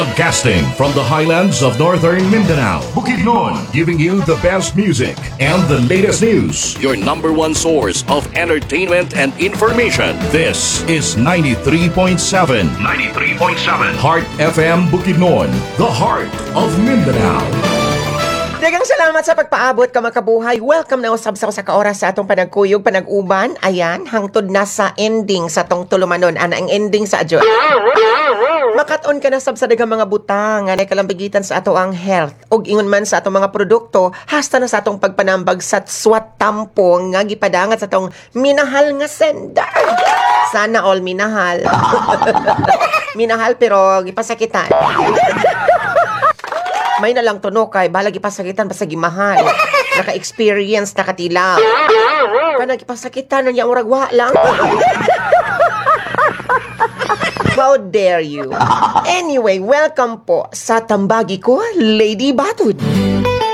Broadcasting from the highlands of northern Mindanao, Bukidnon, giving you the best music and the latest news. Your number one source of entertainment and information. This is 93.7. 93.7 Heart FM Bukidnon, the heart of Mindanao. Daghang salamat sa pagpaabot ka, makabuhay. Welcome na usab sa usa ka oras sa atong panagkuyog, panag-uban. Ayan, hangtod na sa ending sa tong tulumanon. Ana ang ending sa adyo. Makat-on ka na sab sa daghang mga butang nga nakalambigitan sa ato ang health ug ingon man sa atong mga produkto hasta na sa atong pagpanambag sa swat tampo nga gipadangat sa atong minahal nga sender. Sana all minahal. Minahal pero gipasakitan. May na lang tuno kay balag ipasakitan basta gimahal. Naka-experience, nakatilaw. Kanang ipasakitan niya murag wa lang. How dare you? Anyway, welcome po sa Tambagi ko, Lady Batud.